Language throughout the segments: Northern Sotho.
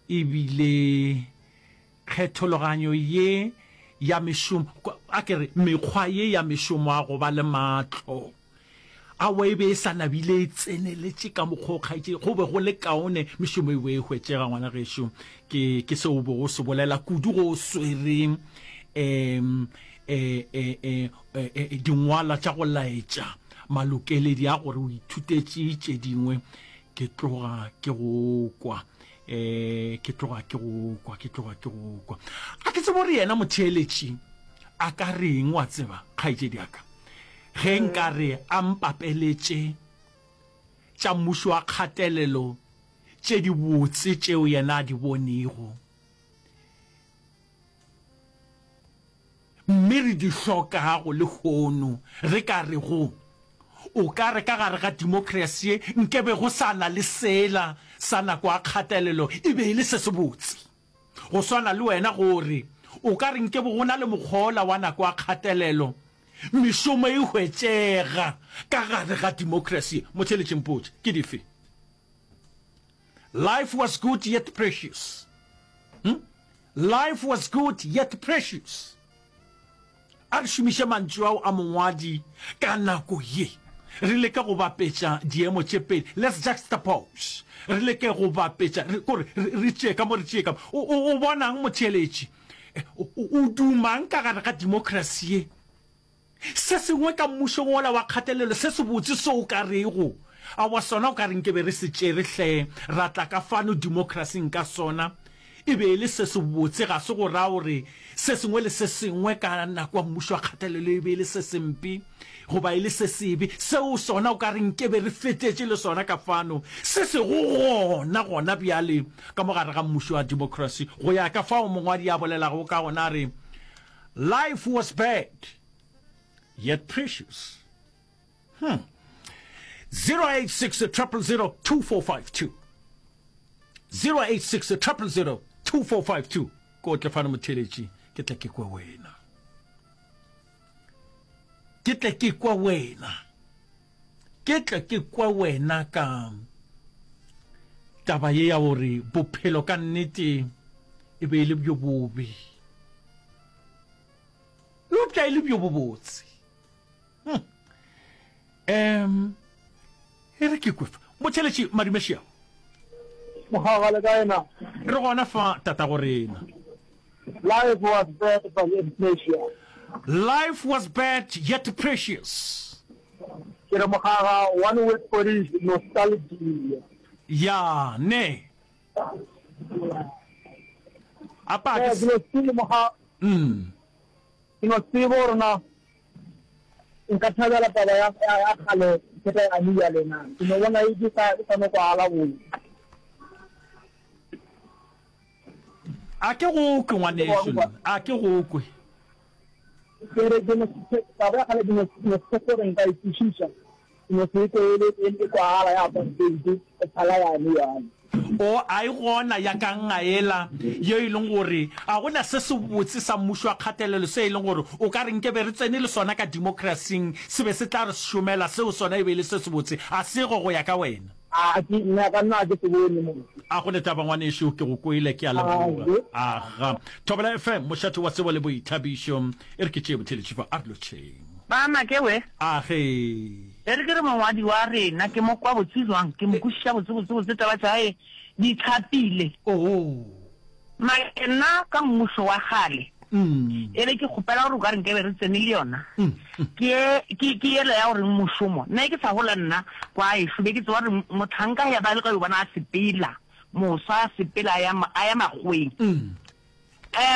Ebile kgethologanyo ye ya mešomo, a ke re, mekgwa ye ya mešomo ya go ba le matlo, aowa e be e sa nabile e tseneletše ka mokgwa o kgaetšedi, go be go le kaone mešomo e be e hwetšega, ngwana gešo. Ke, ke seo o bego o se bolela kudu go o swere um e, e, e, e, e, dingwalwa tša go laetša malokeledi a gore o ithutetše tše dingwe. Ke tloga ke go kwa. E, ke tloga ke go kwa, ke tloga ke go kwa. A ke tsebe gore yena motheeletši a ka reng, wa tseba, kgaetšedi ya ka, ge nka re a mpapeletše tša mmušo wa kgatelelo tše dibotse tšeo yena a di bonego. Mme re di hlokago lehono, re ka rego, O ka re ka gare ga demokrasi ye nke be go sa na le sela sa nako ya kgatelelo e be e le se sebotse. Go swana le wena go re, O ka re nke be go na le mokgwa wola wa nako ya kgatelelo, mešomo e hwetšega ka gare ga demokrasi ye. Motheeletši mpotše, ke dife? Life was good yet precious. Hm? Life was good yet precious. A re šomiše mantšu ao a mongwadi ka nako ye. Re leke go bapetša diemo tše pedi. Let's juxtapose. Re leke go bapetša, re, kore, re, re tšee ka mo, re tšee ka mo. O, o, o bonang motheeletši? O, o, o dumang ka gare ga demokrasi ye? Se sengwe ka mmušong wola wa kgatelelo se sebotse se o ka rego, Aowa, sona o ka re nke be re se tšere hle, ra tla ka fano demokrasing ka sona, e be e le se sebotse, ga se go ra gore se sengwe le se sengwe ka nako ya mmušo wa kgatelelo e be e le se sempe goba e le se sebe. Seo sona o ka re nke be re fetetše le sona ka fano, se sego gona gona bjale ka mo gare ga mmušo wa demokrasi, go ya ka fao mongwadi a bolelago ka gona a re, Life was bad, yet precious. Hmm. 086 000 2452. 086 000 2452. Ko tle fano motheletši, ke tle ke kwe wena. Ke tle ke kwe wena. Ke tle ke kwe wena ka taba ye ya gore bophelo ka nnete e be e le bjo bobe. Eupša e le bjo bobotse. Hmm. Um, e re ke kwe fa. Motheletši Madumešia. Mogaga le kae na? Re gona fa tatago rena. Life was bad but yet precious. Life was bad yet precious. Ke re mogaga one word for it nostalgia. Ya ne. Apa ke no tsebe moga. Mm. Ke no tsebe gore na nka thabela taba ya ya kgale ke ya ya lena. Ke no bona e ke sa e sa no kwala botse. A ke go kwe, ngwanešu, nna. A ke go kwe. Ke re ke no, taba ya kgale ke no, no se gore nka e kwešiša. Ke no se kwe e le, e le kwagala ya apartheid, e phala yane yane. O, a e gona ya ka ngaela ye e leng gore a go na se sebotse sa mmušo wa kgatelelo se e leng gore o ka re nke be re tsene le sona ka demokrasing se be se tla re šomela, seo sona e be e le se sebotse. A sego go ya ka wena? A ke, nna ka nna a ke se bone mo. A go ne taba ngwanešu, ke go kwele, ke a leboga. Aga. Thobela FM, mošate wa tsebo le boithabišo. E re ke tšee botheletši fa, a re lotšheng. Ba make we. Age. E re ke re mongwadi wa rena ke mo kwa botse jwang, ke mo kwešiša botse botse botse taba tša hae di tlhapile. Oh. Make nna ka mmušo wa kgale e be ke kgopela gore o ka re nke be re tsene le yona ke ke ke yela ya gore mošomo nna e ke sa gola nna kwa ešo be ke tseba gore mohlanka ya ba le ka yo bona a sepela moswa a sepela a ya a ya makgoweng um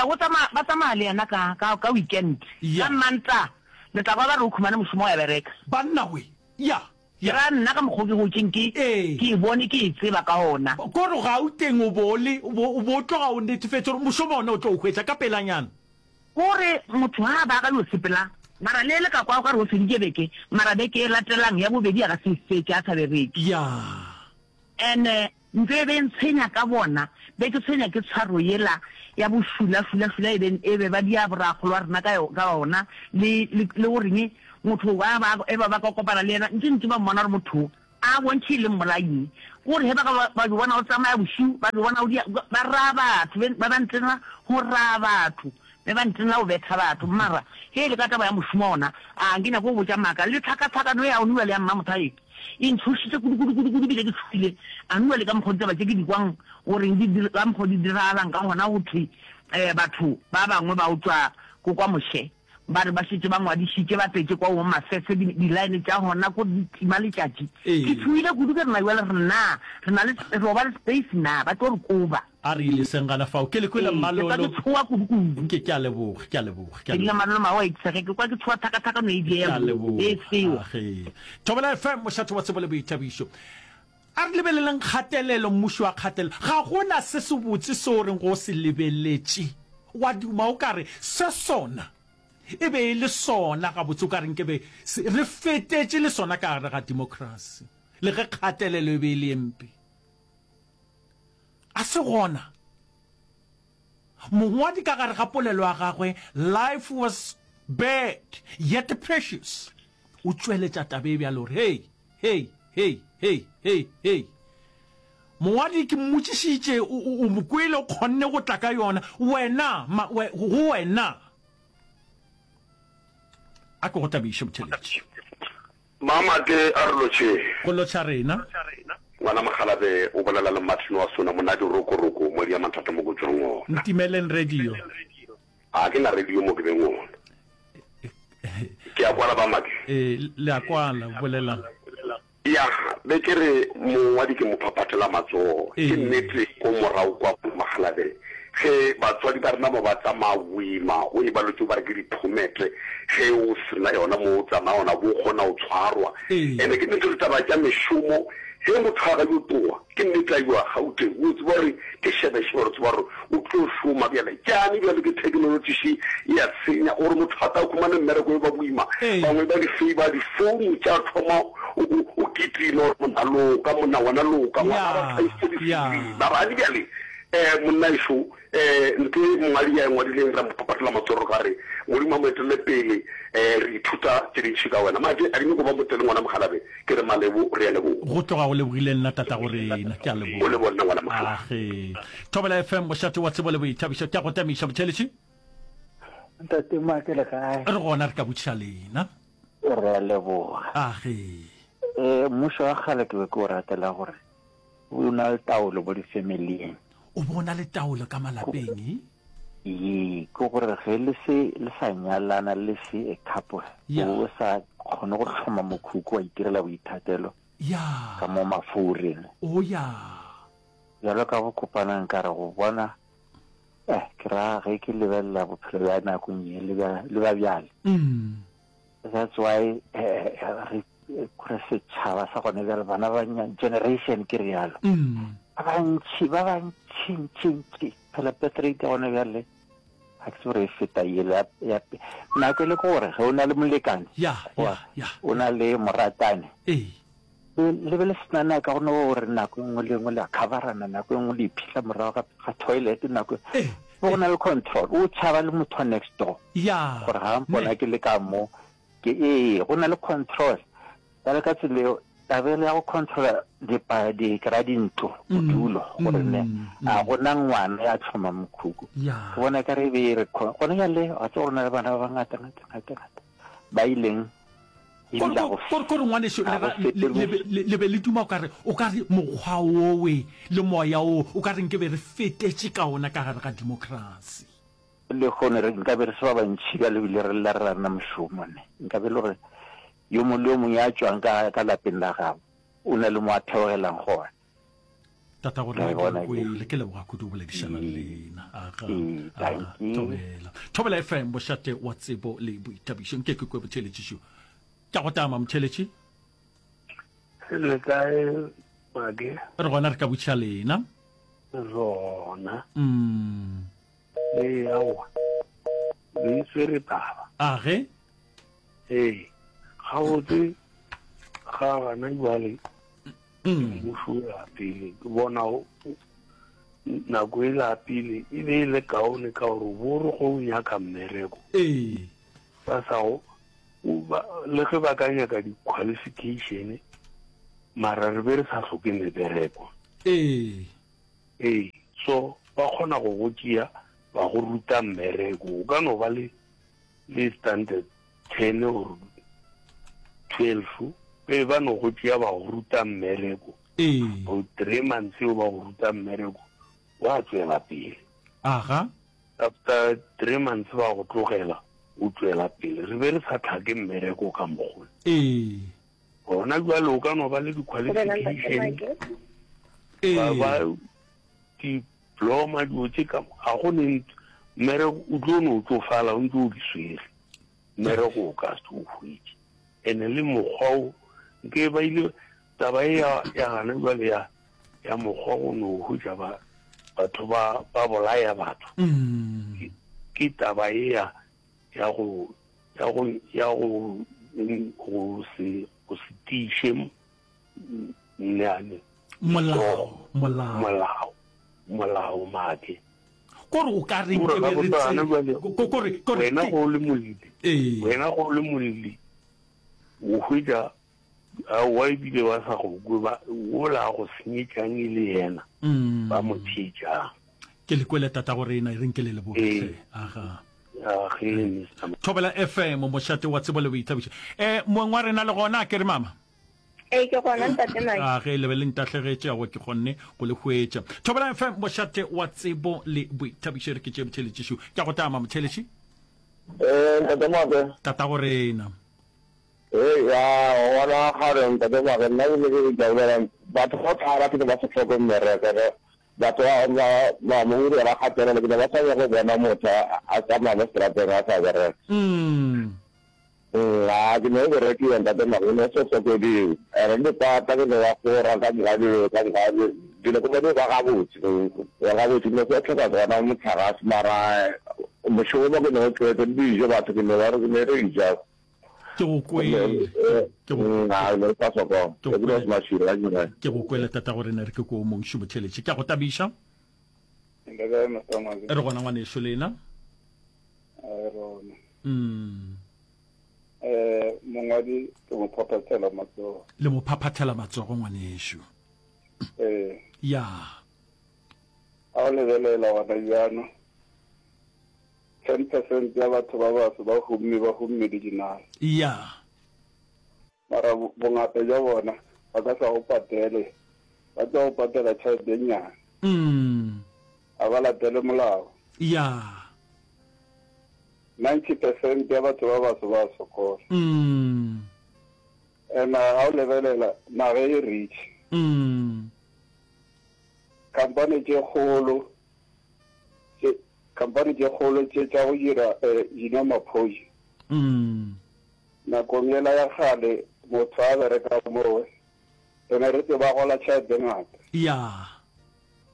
go tsamaya ba tsamaya le yena ka ka ka weekend ka Mantaga le tla kwa ba re o khumane mošomo wa ya bereka. Banna we ya Ke ra nna ka mokgwa o ke gotšeng ke, ke e bone, ke e tseba ka gona. Ko re Gauteng o bo o le, o bo, o bo o tloga o netefetše gore mošomo ona o tlo o hwetša ka pelanyana. Ko re motho ha a ba a ka yo sepela, mara le le ka kwa o ka re o feditše beke, mara beke e latelang ya bobedi a ka se e fetše a sa bereke. Ya. Ene ntho e be e ntshwenya ka bona, be ke tshwenya ke tshwaro yela ya bošula, šula, šula e be, e be ba dia borakgolo wa rena ka, ka ona, le, le, le goreng motho ba, ba, e ba ba ka kopana le yena, ntše, ntše ba mmona gore motho o. A bontšhe e le mmolai. Ke gore ge ba ka ba di bona o tsamaya bošiu, ba di bona o dia, ba raya batho, ba ba ntena go raya batho, be ba ntena go betha batho. Mara ge e le ka taba ya mošomo ona, a ke nyake go botša maaka. Le tlhakatlhakano ya gone bjale ya Mmamotha ye, e ntshošitše kudu, kudu, kudu, kudu, ebile ke tšhogile. A nua le ka mokgwa ditaba tše ke di kwang goreng di, ka mokgwa di diragalang ka gona, go thwe um batho ba bangwe ba utswa ko kwa moše. Ba re ba šetše ba ngwadišitše, ba tletše kwa Home Affairs, di, di-line tša gona ko di tima letšatši. Ee. Ke tšhohile kudu ke re na bjale re na, re na le, re yo ba le space na, ba tlo re koba. A re ile seng gana fao. Ke le kwele Ee, ke kwa ke Mmalolo. tshoha kudu kudu. Ke, ke a leboga, ke a leboga, ke a Ke dula leboga. Mmalolo mago a itshege, ke kwa ke tshoha thakathakano e Ke diega a e leboga. seo. Age. Thobela FM, mošate wa tsebo le boithabišo. A re lebeleleng kgatelelo, mmušo wa kgatelelo. Ga go na se sebotse seo o reng go se lebeletše, wa duma o ka re, Se sona e be e le sona gabotse, o ka re nke be se, re fetetše le sona ka gare ga demokrasi, le ge kgatelelo e be e le ye mpe. A se gona. Mongwadi ka gare ga polelo ya gagwe Life Was Bad Yet Precious o tšweletša taba e bjalo gore, Hei, hei, hei, hei, hei, hei. Mongwadi ke mmotšišitše, o, o, o mo kwele, o kgonne go tla ka yona. Wena, ma, we, go wena. A ke go tabiše, motheeletši. Mamate a re lotšheng. Go lotšha rena. Ngwana Mokgalabje o bolela le Martin wa Sona monadi rokoroko mo dia mathata mo ko tšwang ona. Ntimeleng radio. A ke na radio mo ke beng ona. Ke a kwala ba make. Ee, le a kwala, bolelang. Ya, be ke re mongwadi ke mo phaphathela matsogo. Ke Ee. nnete ko morago kwa Makgalabje ge batswadi ba rena ba ba tsamaya boima o e ba lotse ba re ke diphomete ge o sena yona mo o tsamaya ona bo kgona go tshwarwa. Ene ke nnete ditaba tša mešomo ge motho a ga yo toa ke nnete a yoa Gauteng o tseba gore ke šebešebe gore tseba gore o tlo šoma bjale tšane bjale ke technology še e a senya gore motho a ka khumane mmereko e ba boima bangwe ba di favor di phone tša thoma o kitima gore monna loka monna wena loka ngwana ba thaisitse di CV mara a bjale Eh, monnaešo, eh, ntho e mongwadi a e ngwadileng ra mo phaphathela matsogo ka re, Modimo a mo etelele pele, eh, re ithuta tše dintši ka wena. Manje, a di nyako ba motele ngwana Mokgalabje, ke re Malebo, re a leboga. Go tloga go lebogile nna tatago rena. Ke a O leboga. leboga nna ngwana Mokgalabje. Age. Thobela FM, mošate wa tsebo le boithabišo. Ke a go tamiša, motheeletši. Ntate Make le kae? Re gona re ka botšiša lena. Re a leboga. Age. Eh, mmušo wa kgale ke be ke o ratela gore O na le taolo mo difamilieng. O be o na le taolo ka malapeng, e? Ee, ke gore ge le se le sa nyalana le se a couple, Ya. o sa kgone go hloma mokhukhu wa itirela boithatelo Ya. ka mo mafoureng. O ya. Bjalo ka go kopana nka re go bona, eh, ke ra ge ke lebelela bophelo bja nakong ye le bja, le bja bjale. Mm. That's why eh, re kore setšhaba sa gone bjale bana ba generation ke rialo mm. ba bantši ba bantši ntši ntši phela birth rate ya gone bjale ga ke se gore e feta yele ya nako e le ke gore ge o na le molekane o na le moratane le be le sena naka go no gore nako e nngwe le nngwe le a coverana nako e nngwe le iphitlha morago ga toilet nako go na le control o tšhaba le motho wa next door gore ga mpona ke le ka mo Ke ee, go na le control. Bjale ka tsela eo, taba ele ya go controla dipa, di, ke ra dintlo, bodulo, gore ne a go na ngwana ya tlhoma mokhukhu. Ke bona ekare e be e re gone bjale wa tseba gore na le bana ba bangata ngata ngata ngata ba ileng ebile ga go Kore, kore ngwaneso, ga le go ra, le, fete le be, le, le be le duma o ka re, o ka re mokgwa wowe le moya wo, o ka re nke be re fetetše ka ona ka gare ga democracy. Lehono re nkabe re se ba bantši bjalo ebile re lla re rana mošomo ne. Nkabe e le gore yo mongwe le yo mongwe ya tšwang ka, ka lapeng la gabo o na le mo a theogelang gona. Tatago Ra rena e ke le bona ke. kwele, ke leboga kudu go boledišana le Ee, lena. Aga, ee, aga, dankie. thobela. Thobela FM, mošate wa tsebo le boithabišo. Nke ke kwe botheeletšišo. Ke a go tama, motheeletši. Le kae, Make? Re gona re ka botšiša lena. Re gona. Mm. Ee, aowa. Le e swere taba. A ge? Ee. Gabotse ga gana jwale mmušo o ya pele. Ke bona nako e la pele e be e le kaone ka gore bo re go nyaka mmereko. Ee. Ba sa go le ge ba ka nyaka di-qualification. Mara re be re sa hloke mebereko. Ee. Ee, so ba kgona go go tšea ba go ruta mmereko. O ka no ba le le standard 10 or 12, be ba no go tšea ba go ruta mmereko. Ee. O 3 months eo ba go ruta mmereko, wa tšwela pele. Aga. After 3 months ba go tlogela, o tšwela pele. Re be re sa tlhake mmereko ka mokgwa. Ee. Gona bjale o ka no ba le di-qualification, ba ba diploma, dilo tše ka ga go ne mmereko, o tlo no tšofala o ntse o di swere, mmereko o ka se o hwetše. Ene le mokgwa o nke ba ile taba e ya ya gana bjale ya ya mokgwa go no hwetša ba batho ba ba bolaya batho ke, ke taba e ya ya go ya go ya go go se go se tiiše nneane molao molao molao molao make kore o ka reng ke be re tse kore kore wena go le molli wena go le molli o hwetša Aowa ebile ba sa go kwe ba wola a go senyetšang e le yena mm. ba mo theetšang. Ke le kwele tata go rena e reng ke le leboge hle. Aga. Age Mr. Thobela FM mošate wa tsebo le boithabišo. Eh moeng wa rena le gona a ke re mama? Ee ke gona ntate Mike. A ge le be le ntahlegetše aowa ke kgonne go le hwetša. Thobela FM mošate wa tsebo le boithabišo e re ke tšee motheeletši šo. Ke a go tama motheeletši. Eh ntate Make. Tata go rena. Hei, ya, gona gare ntate Mage, nna ke ne ke tla bolela, batho ba tlala ke ne ba se hloke mmereko, ge batho ba ba ba mo iri ba gatelela, ke ne ba sa nyake go bona motho a tsamaya mo seterateng a sa bereka. Mm. Mm, a ke ne o berekiwa ntate Mage, ke ne o se hlokediwe. Ene le dipata ke ne wa fora ka moka dilo ka moka dilo ke bone ba gabotse, ba gabotse, ke ne se hloka gona motlakase mara mošomo ke ne o tlwaetse le dijo batho ke ne ba re ke ne re ja. Ke go kwele. Ke go kwele. Ke go kwele tatago rena re ke ko mong šumo tšheletše. Ke a go tabiša. Re gona ngwanešu lena. Mm. Eh mongwadi ke mo phaphathela matsogo. Le mo phaphathela matsogo ngwanešu. Eh. Ya. A o lebelela gona bjano. 10 percent ya batho ba baso ba humme, ba humme le dinala. Ya. Mara bongata bja bona ba ka sa go patele, ba tlo go patela tšhelete e nnyane. Mm. Ga ba latele molao. Ya. 90 percent ya batho ba baso ba sokola. Mm. And ga o lebelela naga e rich. Mm. Khampani tše kgolo tše Khampani tše kgolo tše tša go dira dinomaphoji. Nakong yela ya kgale motho a bereka mowe, re ne re tseba gola tšhelete e ngata. Ya.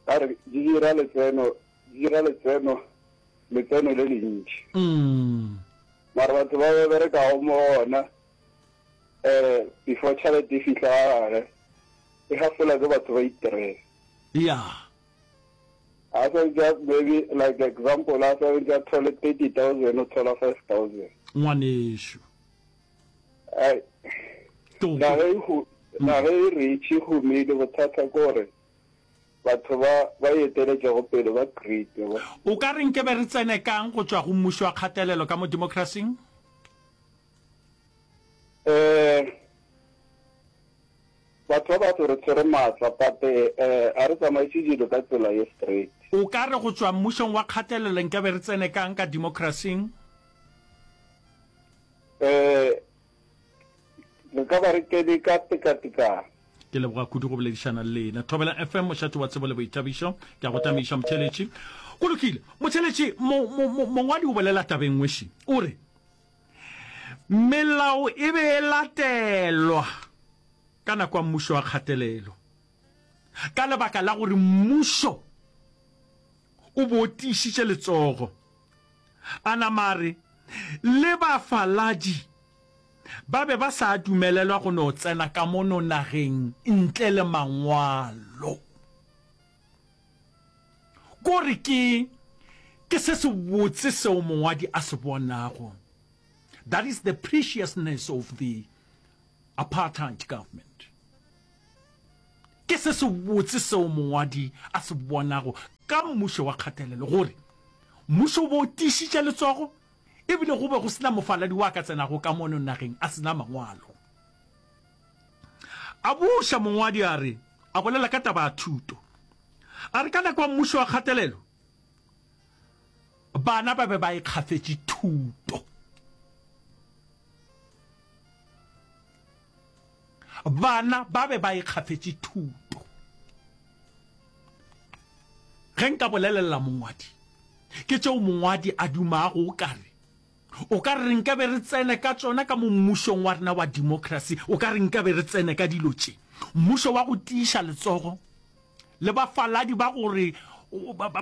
Ka re di dira letseno, di dira letseno, letseno le lentši. Mara batho ba ba berekago mo gona, um before tšhelete e fihla ga gage, e hafola ke batho ba iterela. Ya. A santse a maybe like example a santse a thole 30000 o thola 5000. Ngwanešu. Ai. Na ge e na ge e rich e humile bothata ke gore batho ba ba eteletšego pele ba greed ba. O ka re nkebe re tsene kang go tšwa go mmušo wa kgatelelo ka mo democracy-ing? Eh Batho ba batho re tshwere maatla but ga re tsamaise dilo ka tsela ye straight. O ka re go tšwa mmušong wa kgatelelo nkabe re tsene kang ka democracy-ing? Re ka ba re kene ka tekatekano. Ke leboga kudu go boledišana le lena. Thobela FM, mošate wa tsebo le boithabišo. Ke a go tamiša, motheeletši. Go lokile. Motheeletši, mo, mo, mo, mongwadi o bolela taba e nngwe še. O re, Melao e be e latelwa ka nako ya mmušo wa kgatelelo ka lebaka la gore mmušo o be o tiišitše letsogo. A nama a re le bafaladi ba be ba sa dumelelwa go no tsena ka mono nageng ntle le mangwalo. Ko re ke, ke se sebotse seo mongwadi a se bonago. That is the preciousness of the apartheid government. Ke se sebotse seo mongwadi a se bonago ka mmušo wa kgatelelo, gore mmušo o be o tiišitše letsogo e bile go be go se na mofaladi wa ka tsenago ka mono nageng a se na mangwalo. A buša mongwadi a re, a bolela ka taba ya thuto, a re ka nako ya mmušo wa kgatelelo, bana ba be ba ikgafetše thuto. Bana ba be ba ikgafetše thuto. Ge nka bolelelela mongwadi, ke tšeo mongwadi a dumago o ka re, o ka re nka be re tsene ka tšona ka mo mmušong wa rena wa democracy, o ka re nka be re tsene ka dilo tše. Mmušo wa go tiiša letsogo le bafaladi ba gore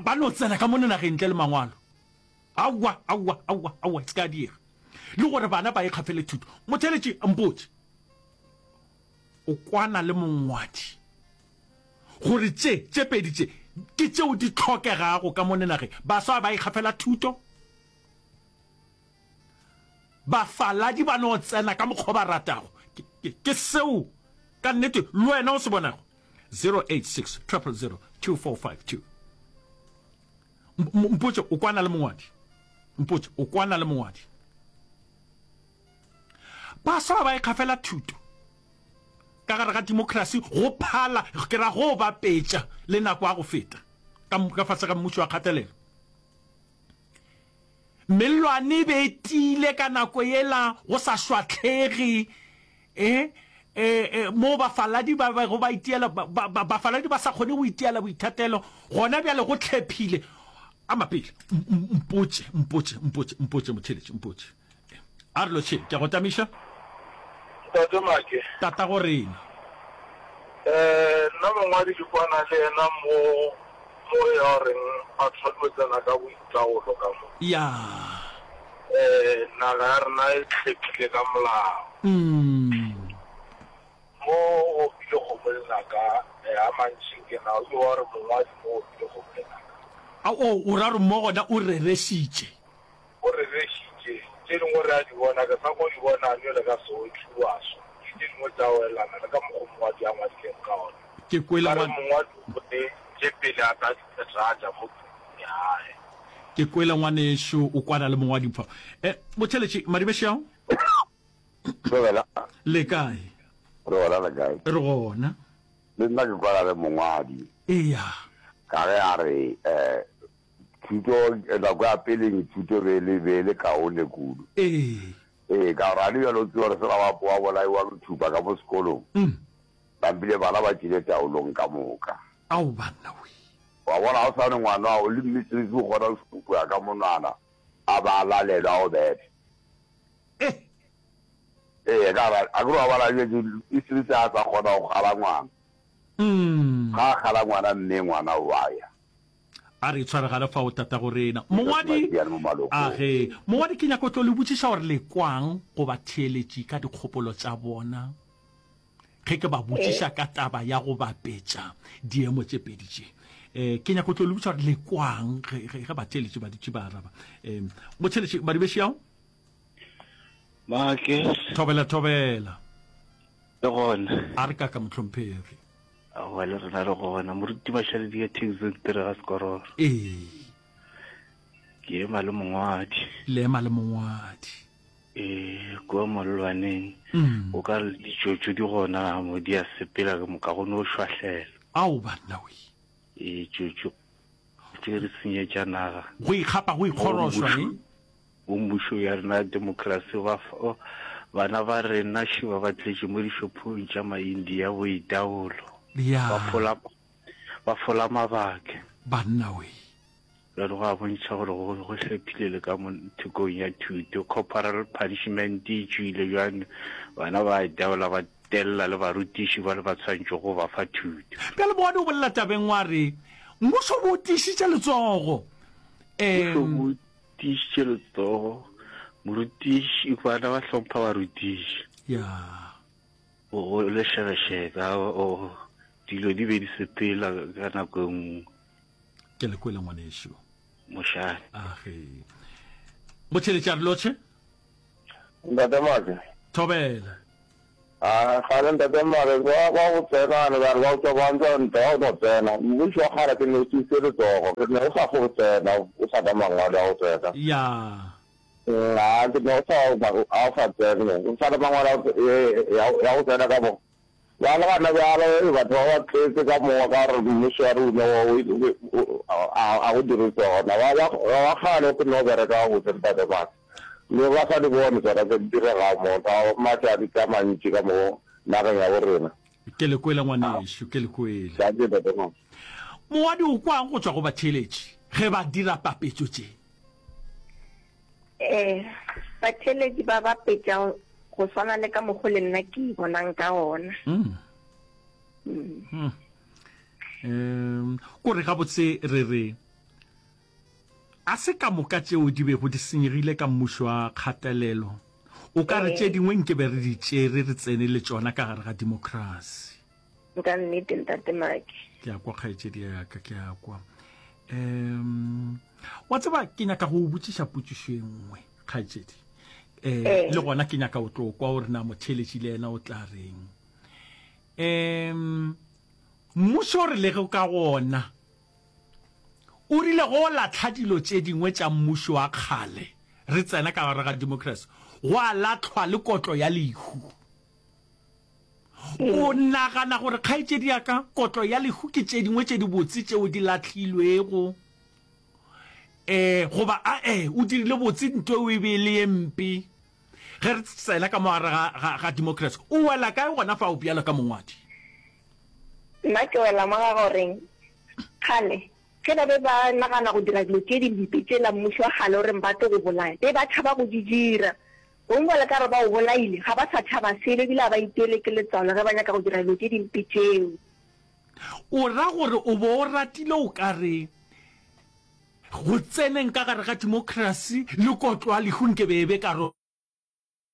ba no tsena ka mono nageng ntle le mangwalo. Aowa, aowa, aowa, aowa, e se ka diega. Le gore bana ba ikgafele thuto. Motheeletši, mpotše, o kwana le mongwadi gore tše, tše pedi tše ke tšeo di hlokegago ka mono nageng. Baswa ba ikgafela thuto, bafaladi ba no tsena ka mokgwa o ba ratago. Ke, ke, ke seo ka nnete le wena o se bonago. 086 000 2452. Mpotše, o kwana le mongwadi. Mpotše, o kwana le mongwadi. Baswa ba ikgafela thuto ka gare ga demokrasi go phala, ke ra go bapetša le nako ya go feta ka, ka fase ga mmušo wa kgatelelo. Mellwane e be e tiile ka nako yela, go sa šwahlege, e, e, e, moo bafaladi ba bego ba itiela, ba, ba, bafaladi ba sa kgone go itiela boithatelo, gona bjale go hlephile. A mapele, mpotše, mpotše, mpotše, mpotše, motheeletši, mpotše. A re lotšheng, ke a go tamiša. Ntate Make. Tatago rena. Eh, nna mongwadi ke kwana le yena mo, mo ya goreng batho ba tlo tsena ka boitaolo ka mo. Ya. Eh, naga ya rena e hlephile ka molao. Mm. Mo go opile kgomo lenaka, eh, a mantši nke na o ke wa gore mongwadi mo opile kgomo lenaka. A o, o ra gore mo gona o rerešitše. O rerešitše, tše dingwe re a di bona, ke sa ko di bona bjale ka seotliwaso, ke tše dingwe tša welana le ka mokgo mongwadi a ngwadileng ka ona. Ke kwele Ka re ngwan. mongwadi o bone tše pele a ka di phethagatša mo pukung ya hae. Ke kwele ngwanešu o kwana le mongwadi fa. Eh, motheeletši, Madibešao? Thobela. Le kae? Re gona le kae? Re gona. Le nna ke kwana le mongwadi. Eya. Ka ge a re eh Thuto, nako ya peleng thuto be le, be le kaone kudu. Ee. Ee, ka gore a le bjalo o tseba gore sela wa, wa bolaiwa ke thupa ka mo sekolong, Mm. nampile bana ba tšwile taolong ka moka. Ao banna wee. Wa bona, ga o sa re ngwana wa gago le mmistrisi o kgona go šupa ka monwana a ba a lalelwa a go betha. Eh. Ee, ka gore a ke re wa bona bjale mistrisi ga a sa kgona go kgala ngwana. Mm. Ga a kgala ngwana mme ngwana o a ya. A re itshwaregale fao, Tatago rena. Mongwadi, a ge. Mongwadi, ke nyaka go tlo le botšiša gore le kwang go batheeletši ka dikgopolo tša bona ge ke ba botšiša ka taba ya go bapetša diemo tše pedi tše. Eh, ke nyaka go tlo le botšiša gore le kwang ge, ge, ge batheeletši ba dutše ba araba. Eh, motheeletši, Madibešiao? Make. Thobela, thobela. Le gona. A re kaka, mohlomphegi. Aowa le rena re gona. Moruti Mašaledi ka Taxi Ntire ga Sekororo. Ee. Ke ema le mongwadi. Le ema le mongwadi. Ee, kua mollwaneng. Mm. O ka re ditšotšo di gona mo di a sepela ke moka go no šwahlela. Ao banna we. Ee, tšotšo tše re senyetša naga. Go ikgapa go ikgorošwa e. Bo mmušo ya rena ya demokrasi ba bana ba rena šiba ba tletše mo dishophong tša ma-India boitaolo. Ya. Ba fola ba fola mabake. Banna we. Bjale go a bontšha gore go go hlephile le ka mo thekong ya thuto. Corporal punishment e tšwile bjang bana ba itaola ba telela le barutiši ba le ba tshwanetšego go ba fa thuto. Bjale Boane o bolela tabeng wa re mmušo bo tiišitše letsogo. Mmušo bo Tiišitše letsogo, morutiši, bana ba hlompha barutiši. Ya. O, o lešebešebe, a, o, dilo di be di sepela ka nako e nngwe. Ke le kwele ngwanešu. Mošane. Age. Motšheletši a re lotšhe. Ntate Make. Thobela. A kgale ntate mare ba ba go tsena ne ba re ba o tswa ba ntwa ntwa o no tsena mmušo wa kgale ke ne o tiise letsogo ke ne o sa go tsena o sa ka mangwalo a go tsena Ya. a ke ne o sa a o sa tsene o sa le mangwalo ya ya go tsena ka mo ba le gana bjalo batho ba ba tletse ka mo ka gore mmušo wa rona a go dire tsona ba ba ba kgale ke no bereka gabotse ntate mare Le ba sa di bone tsona tse di diregago mo, tsa matšatši a mantši ka mo nageng ya bo rena. Ke le kwele ngwanešu, ke le kwele. Dankie Ntate Mama. Moadi o kwang go tšwa go batheeletši ge ba dira papetšo tše? Ee, batheeletši ba bapetša go swana le ka mokgo le nna ke bonang ka gona. Mm. Mm. Um, ko re gabotse re re A se ka moka tšeo di bego di senyegile ka mmušo wa kgatelelo. O ka re tše dingwe nke be re di tšere re tsene le tšona ka gare ga demokrasi. Ka nnete, Ntate Maki. Ke a kwa, kgaetšedi ya ka, ke a kwa. Um, wa tseba, ke nyaka go o botšiša potšišo e nngwe, kgaetšedi. Um, le gona ke nyaka o tlo kwa gore na motheeletši le yena o tla reng. Um, mmušo re lego ka gona, O rile go lahla dilo tše dingwe tša mmušo wa kgale, re tsena ka gare ga demokrasi, gwa lahlwa le kotlo ya lehu. O nagana gore, kgaetšedi ya ka, kotlo ya lehu ke tše dingwe tše dibotse tšeo di lahlilwego? E, goba a-e, o dirile botse nto eo e be e le ye mpe? Ge re tsena ka mo gare ga, ga, ga demokrasi, o wela kae gona fao bjalo ka mongwadi? Nna ke wela mo ga goreng kgale ge ba be ba nagana go dira dilo tše dimpe tšela mmušo wa kgale o reng ba tlo go bolaya, be ba tšhaba go di dira. Gongwe bjale ka gore ba o bolaile, ga ba sa tšhaba selo ebile ga ba iteele ke letswalo ge ba nyaka go dira dilo tše dimpe tšeo. O ra gore o bo o ratile o ka re go tseneng ka gare ga demokrasi le kotlo ya lehu nke be e be karolo?